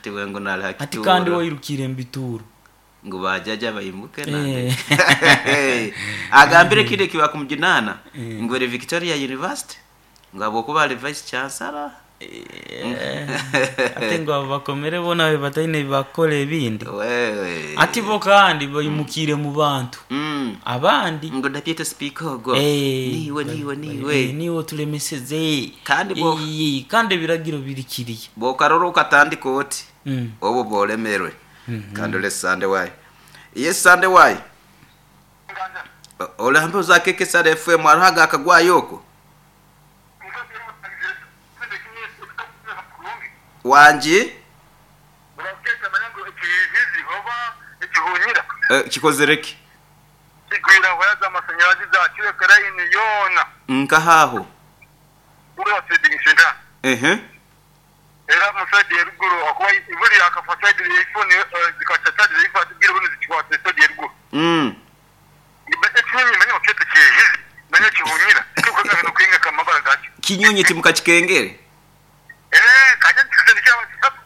Hati we ngu nali ha Hati kandi kituuro. Wairukire mu bituuro. Ngu bajaja baimuke. Eh. Agambire kindi ekibakumujunana, Eh. ngu eri Victoria University, ngu habwokuba ali vice chancellor. Eh, ate ngu abo bakomere boona babe bataine ebibakukora ebindi. Wewe. Ati bo kandi baimukire mu bantu abandi. Ngu deputy speaker ogwo, Eh, niwe niwe niwe. Eh, niwe otulemeseze. Kandi Eh, kandi ebiragiro biri kiriya. Bwokarora okatandika oti, obwo bwolemerwe. Kandi ole Sande wayi, ye Sande wayi, olambe ozakekesara FM hariho agakagwayo okwo wangi. Ekihunyira. Eh, kikozere ki? Kigwira waya z'amashanyarazi zakireka layini yoona. Nkahaho? Uriya trading center. Ehe. Era mu side eruguru akuba buri akafa side ifone zikaca side ifate bwira buno zikikwata side eruguru. Ekinyonyi manya bakete kihizi manya kihunyira kikoze no kwinga kamabara gacyo. Kinyonyi timukakikengere. Eh, kajya kisendikira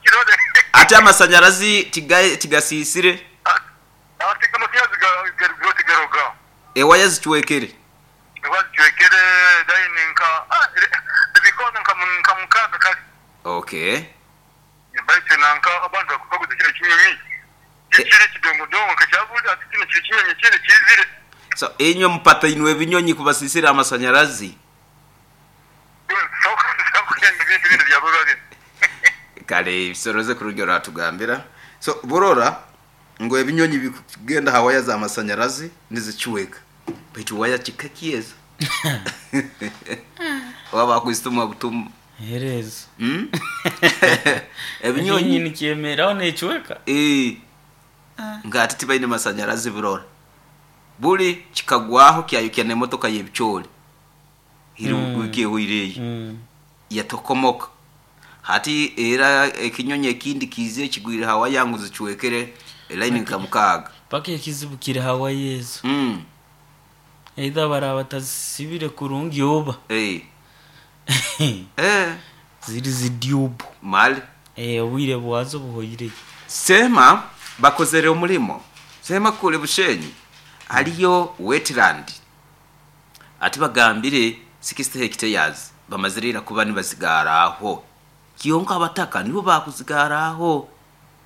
kirode. Ate amasanyarazi tigasisire? Ate amashanyarazi garugo tigaruga. Ewaya zicwekere. Bazicwekere layini nka ebikona nka mukaga kali. Okay. Baitu nanka abantu bakubaguza kino kinyonyi kikiri kidongodongo kakyabuli ati kino kiri kinyonyi kiri kizire. So inywe mupata inwe ebinyonyi kubasisira amasanyarazi. Sokugenda ebintu bino byaburwa bino. Kale bisoroze kurugero ratugambira. So burora ngo ebinyonyi bikugenda ha waya z'amasanyarazi nizicweka, baitu waya kikakieza waba kwistuma butumu. Herezo. Ebinyonyi. Ekinyonyi nikyemeraho nekiweka. Eh. Nga ati tibaine masanyarazi, burora buli kikagwaho kyayukya n'emotoka y'ebicoori hiri wiki ehweireyo, yatokomoka. Hati era ekinyonyi ekindi kiizire kigwire hawa yangu zicwekere elaini nka 6. Paka ekizibu kiri hawaii ezo, either baraba batazisibire kurungi oba Eh. Eh. ziri zidyubu. Mali. Eh, obwire bwazo buhoireyo. Sema bakozere omulimo sema kule Bushenyi haliyo wetland, ati bagambire 60 hectares bamazirira kuba nibazigaraho kiyonka abataka nibo bakuzigaraho.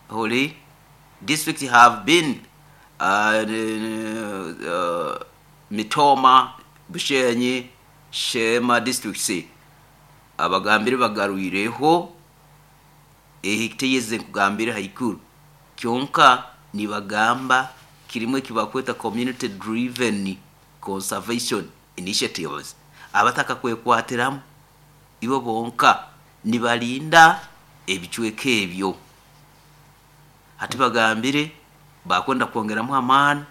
Holy district have been Mitoma, Bushenyi, Shema districts, abagambire bagarwireho ehectares nkugambire haikuru. Kyonka nibagamba kirimu ekibakweta community driven conservation initiatives, abataka kwekwatiramu ibo bonka nibalinda ebicweka ebyo. Hati bagambire bakwenda kwongeramu amaani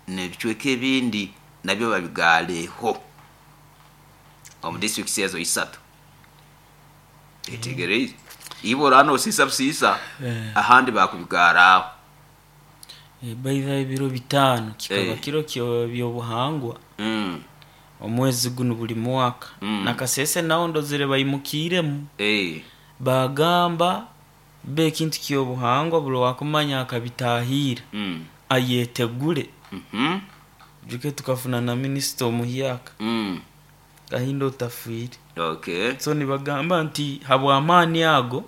n'ebicweka ebindi nabyo babigaleho omu districts ezo isatu. Etegereize ibo orano osiisa busiisa. Eh. Ahandi bakubigaraho. Eh, baitha ebiro 5 kikaba Eh. kiro byobuhangwa omwezi guno buli mwaka. Nakasese naho ndozere baimukiremu. Bagamba be ekintu kyobuhangwa buli wakumanya akabitahira ayetegure. Juke tukafuna na minisita omuhyaka Kahinda Otafiire. So nibagamba nti habwamaani ago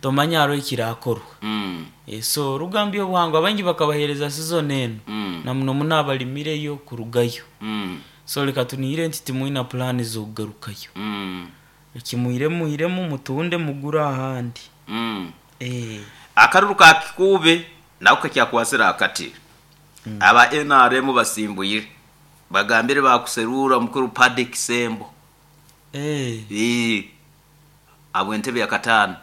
tomanya hariho ekirakorwa. Eh, so rugambye obuhangwa baingi bakabahereza season eno na muno muno abalimireyo kurugayo. So leka tunihire nti timwina pulaani z'okugarukayo. Ekimuhire muhiremu mutunde mugure ahandi. Eh. Akaruru ka Kikuube nako kakyakwasira akati. Aba NRM basimbuyire, bagambire bakuserura mukuru Paddy Kisembo. Eh. Eh, abo entebe ya katano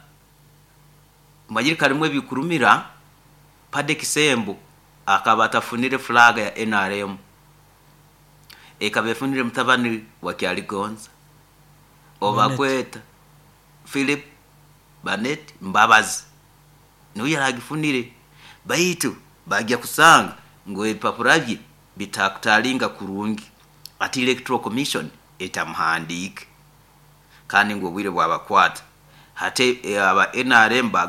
manyiri karimu ebikurumira. Paddy Kisembo akaba atafunire flag ya NRM, ekaba efunire mutabani wa Kyaligonza obakweta Philip Banet Mbabazi, niwe yaragifunire, baitu bagya kusanga ngu ebipapura bye bitakutalinga kurungi, ati Electoral Commission etamuhandiike, kandi ngu obwire bwabakwata. Hati aba NRM bagamba